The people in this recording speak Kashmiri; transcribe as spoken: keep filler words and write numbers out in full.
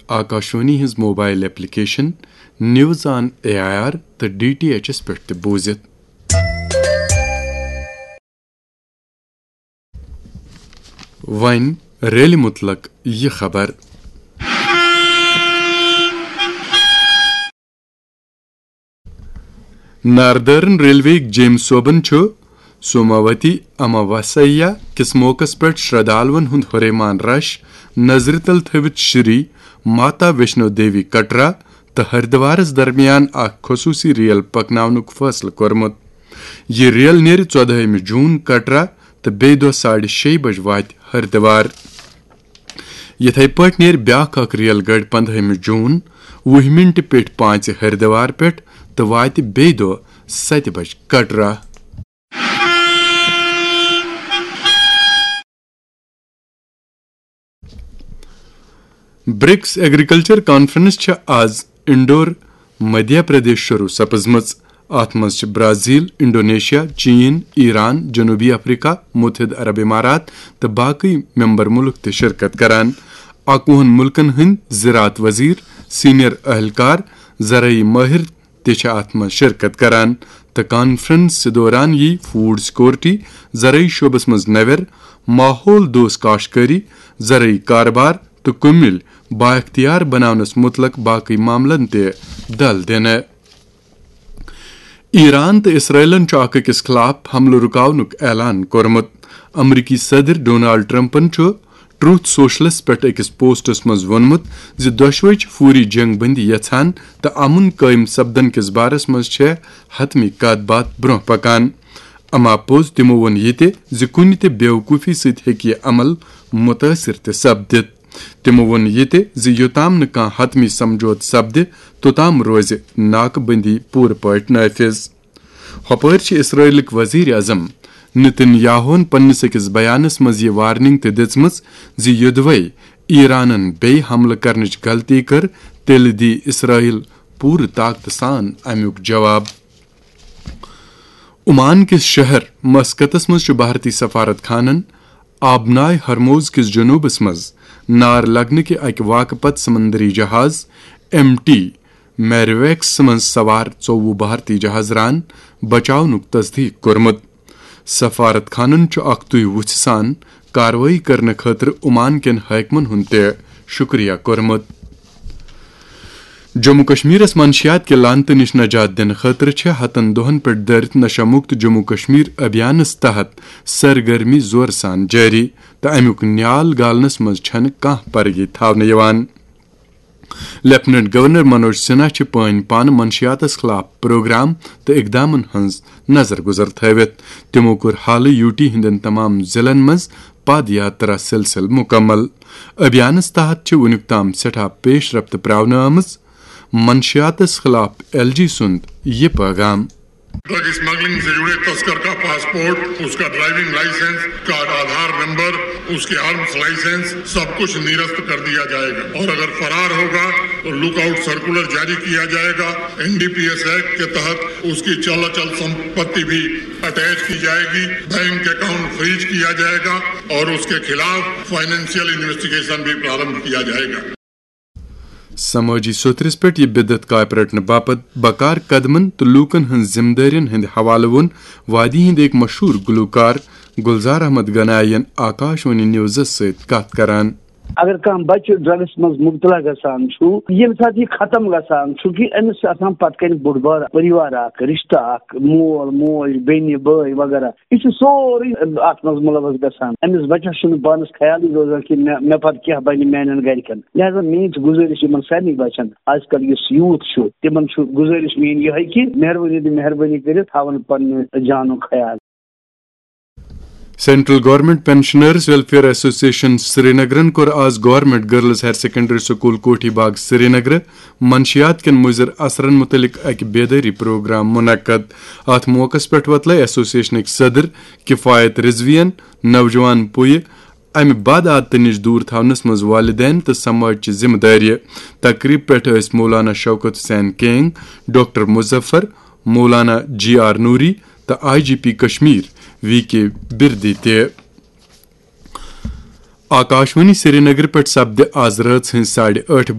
آکاشوانی ہٕنٛز mobile application news on A I R تہٕ ڈی ٹی ایچ ایس پٮ۪ٹھ تہِ بوٗزِتھ۔ وۄنۍ ریلہِ مُتلق یہِ خبر۔ ناردرن ریلوے جیمۍ صٲبن چھُ سوماوتی اماواسیا کِس موقعس پٮ۪ٹھ شردالوَن ہُنٛد ہُریمان رش نظرِ تل تھٲوِتھ شری ماتا ویشنو دیوی کٹرا تہٕ ہردوارس درمیان اکھ خصوٗصی ریل پکناونُک فٲصلہٕ کوٚرمُت۔ یہِ ریل نیرِ ژۄدہٲیمہِ جوٗن کٹرا تہٕ بیٚیہِ دۄہ ساڑِ شیٚیہِ بجہِ واتہِ ہردوار۔ یِتھے پٲٹھۍ نیرِ بیٛاکھ اکھ ریل گٲڑۍ پنٛدہٲیمہِ جوٗن وُہہِ مِنٹہِ پیٚٹھۍ پانٛژِ ہردوار پٮ۪ٹھ تہٕ واتہِ بیٚیہِ دۄہ ستہِ بجہِ کٹرا۔ برکس ایگریکلچر کانفرنس چھےٚ آز انڈور، مدھیہ پردیش شروع سپزمٕژ۔ اتھ منٛز چھِ برازیل، انڈونیشیا، چین، ایران، جنوبی افریقہ، متحدہ عرب امارات تہٕ باقی ممبر ملک تہِ شرکت کران۔ اکوُہن ملکن ہٕنٛدۍ زراعت وزیر، سینئر اہلکار، زرعی ماہر تہِ چھِ اتھ منٛز شرکت کران تہٕ کانفرنس دوران یی فوڈ سیکورٹی، زرعی شعبس منٛز نوٮ۪ر، ماحول دوست کاشتکاری، زرعی کاربار تہٕ کُمِل بااختیار بناونس متعلق باقی معاملن تہِ دل دِنہٕ۔ ایران تہٕ اسرائیلن چھُ اکھ أکِس خلاف حملہٕ رُکاونُک اعلان کوٚرمُت۔ امریکی صدر ڈونالڈ ٹرمپن چھُ ٹروتھ سوشلس پٮ۪ٹھ أکِس پوسٹس منٛز ووٚنمُت زِ دۄشوے چھِ فوری جنگ بندی یژھان تہٕ امن قٲیِم سپدن کِس بارس منٛز چھےٚ حتمی کتھ باتھ برونٛہہ پکان۔ اما پوٚز تِمو ووٚن یہِ تہِ زِ کُنہِ تہِ بیوقوفی سۭتۍ ہیٚکہِ یہِ عمل متٲثر تہِ سپدِتھ۔ تِمو ووٚن یہِ تہِ زِ یوٚتام نہٕ کانٛہہ حتمی سمجھوتہٕ سپدِ، توٚتام روزِ ناکہٕ بندی پوٗرٕ پٲٹھۍ نافذ۔ ہۄپٲرۍ چھِ اسرائیلٕکۍ وزیر اعظم نتن یاہوہن پننِس أکِس بیانس منٛز یہِ وارننگ تہِ دِژمٕژ زِ یوٚدوے ایرانن بیٚیہِ حملہٕ کرنٕچ غلطی کٔر، تیٚلہِ دی اسرائیل پوٗرٕ طاقتہٕ سان امیُک جواب۔ عمان کِس شہر مسقطس منٛز چھُ بھارتی سفارت خانن آبنائے ہرموز کِس جنوٗبس منٛز نار لگنہٕ کہِ اکہِ واقعہٕ پتہٕ سمندری جہاز ایم ٹی میریویکس منٛز سوار ژوٚوُہ بھارتی جہاز ران بچاونُک تصدیق کوٚرمُت۔ سفارت خانن چھُ اکھ تُے وُژھِ سان کاروٲیی کرنہٕ خٲطرٕ عمان کٮ۪ن حٲکمن ہُنٛد تہِ شُکریہ کوٚرمُت۔ جموں کشمیرس منشیات کہِ لعنتہٕ نِش نجات دِنہٕ خٲطرٕ چھِ ہتن دۄہن پٮ۪ٹھ دٲرِتھ نشہ مکت جموں کشمیر ابھیانس تحت سرگرمی زورٕ سان جٲری تہٕ امیُک نیال گالنس منٛز چھنہٕ کانٛہہ پرگی تھاونہٕ یِوان۔ لیفٹیننٹ گورنر منوج سنہا چھِ پٲنۍ پانہٕ منشیاتس خلاف پروگرام تہٕ اقدامن ہٕنٛز نظر گزر تھٲوِتھ۔ تِمو کوٚر حالٕے یوٗ ٹی ہٕنٛدٮ۪ن تمام ضلعن منٛز پد یاترا سلسلہٕ مکمل۔ ابھیانس تحت چھِ وُنیُک تام سٮ۪ٹھاہ پیش رفت پراونہٕ آمٕژ۔ منشیاتس خلاف ایل جی سُنٛد یہِ پیغام۔ ڈرگ اسمگلنگ سے جڑے تسکر کا پاسپورٹ، اس کا ڈرائیونگ لائسنس، اس کا آدھار نمبر، اس کے آرمز لائسنس، سب کچھ نرست کر دیا جائے گا اور اگر فرار ہوگا تو لک آؤٹ سرکولر جاری کیا جائے گا۔ N D P S act کے تحت اس کی چل اچل سمپتی بھی اٹیچ کی جائے گی، بینک اکاؤنٹ فریز کیا جائے گا اور اس کے خلاف فائنینشیل انویسٹیگیشن بھی پرارمبھ کیا جائے گا۔ سمٲجی سوٚتھرِس پٮ۪ٹھ یہِ بدعت کاپہِ رٹنہٕ باپتھ بکار قدمن تہٕ لوٗکن ہٕنٛز ذمہٕ دٲرین ہٕنٛدِ حوالہٕ ووٚن وادی ہٕنٛدۍ أکۍ مشہوٗر گلوکار گلزار احمد گنایی ین آکاش وانی نیوزس سۭتۍ کتھ کران۔ اگر کانٛہہ بچہٕ ڈرگس منٛز مبتلا گژھان چھُ، ییٚمہِ ساتہٕ یہِ ختم گژھان چھُ، کہِ أمِس چھُ آسان پتہٕ کنہِ بوٚڑ بار پریوار اکھ، رشتہٕ اکھ، مول، موج، بیٚنہِ، بٲے وغیرہ۔ یہِ چھُ سورُے اتھ منٛز ملوث گژھان۔ أمِس بچس چھُنہٕ پانس خیالٕے روزان کہِ مےٚ، مےٚ پتہٕ کیٛاہ بنہِ میانٮ۪ن گرِکٮ۪ن۔ لہذا میٲنۍ چھِ گُزٲرِش یِمن سارنٕے بچن، آز کل یُس یوٗتھ چھُ، تِمن چھُ گُزٲرِش میٲنۍ یِہے کہِ مہربٲنی تہٕ مہربٲنی کٔرِتھ تھاون پننہِ جانُک خیال۔ Central government pensioners welfare association سرینگرن کوٚر آز government girls higher secondary school Kothi Bagh Srinagar منشیات کٮ۪ن مُضر اثرن مُتعلق اکہِ بیدٲری پروگرام منعقد۔ اتھ موقعس پٮ۪ٹھ وۄتلٲے ایسوسیشنٕکۍ صدر کفایت رضوین نوجوان پُیہِ امہِ بد عادتہٕ نِش دوٗر تھاونس منٛز والدین تہٕ سماج چہِ ذمہٕ دٲری۔ تقریب پٮ۪ٹھ ٲسۍ مولانا شوکت حسین کینگ، ڈاکٹر مظفر، مولانا جی آر نوری تہٕ I G P Kashmir V K Birdi تہِ۔ آکاشوانی سرینگر پٮ۪ٹھ سپدِ آز رٲژ ہٕنٛزِ ساڑِ ٲٹھِ